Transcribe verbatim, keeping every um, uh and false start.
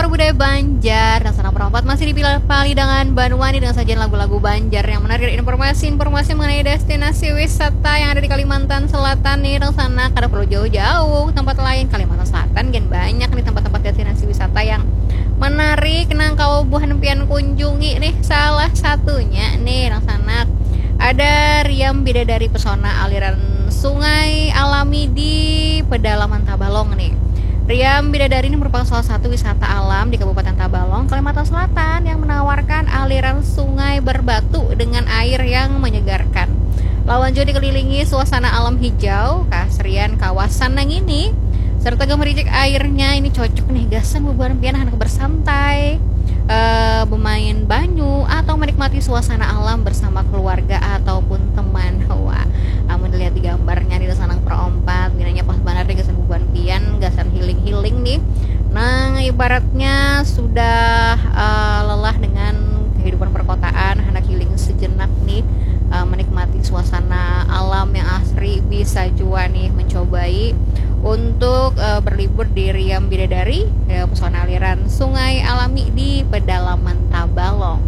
Budaya Banjar, Dangsanak Perompat masih dipilih pali dengan Banua nih dengan sajian lagu-lagu Banjar yang menarik dan informasi-informasi mengenai destinasi wisata yang ada di Kalimantan Selatan nih. Dangsanak kada perlu jauh-jauh ke tempat lain, Kalimantan Selatan gen banyak nih tempat-tempat destinasi wisata yang menarik nang kawa buhan pian kunjungi nih. Salah satunya nih Dangsanak ada Riam Bidadari, pesona aliran sungai alami di pedalaman Tabalong nih. Riam Bidadari ini merupakan salah satu wisata alam di Kabupaten Tabalong, Kalimantan Selatan yang menawarkan aliran sungai berbatu dengan air yang menyegarkan. Lawan jua dikelilingi suasana alam hijau, keasrian kawasan nang ini, serta gemericik airnya ini cocok nih gasan bubuhan pian handak bersantai, eh, bermain banyu, atau menikmati suasana alam bersama keluarga ataupun teman. Wah, amun dilihat di gambarnya nih Dangsanak Perompat, pinanya pas banar nih gasan bubuhan pian, gasan healing-healing nih. Nang ibaratnya sudah, eh, lelah dengan kehidupan perkotaan, handak healing sejenak nih, eh, menikmati suasana alam yang asri, bisa jua nih mencobai untuk, eh, berlibur di Riam Bidadari, ya, pesona aliran sungai alami di pedalaman Tabalong.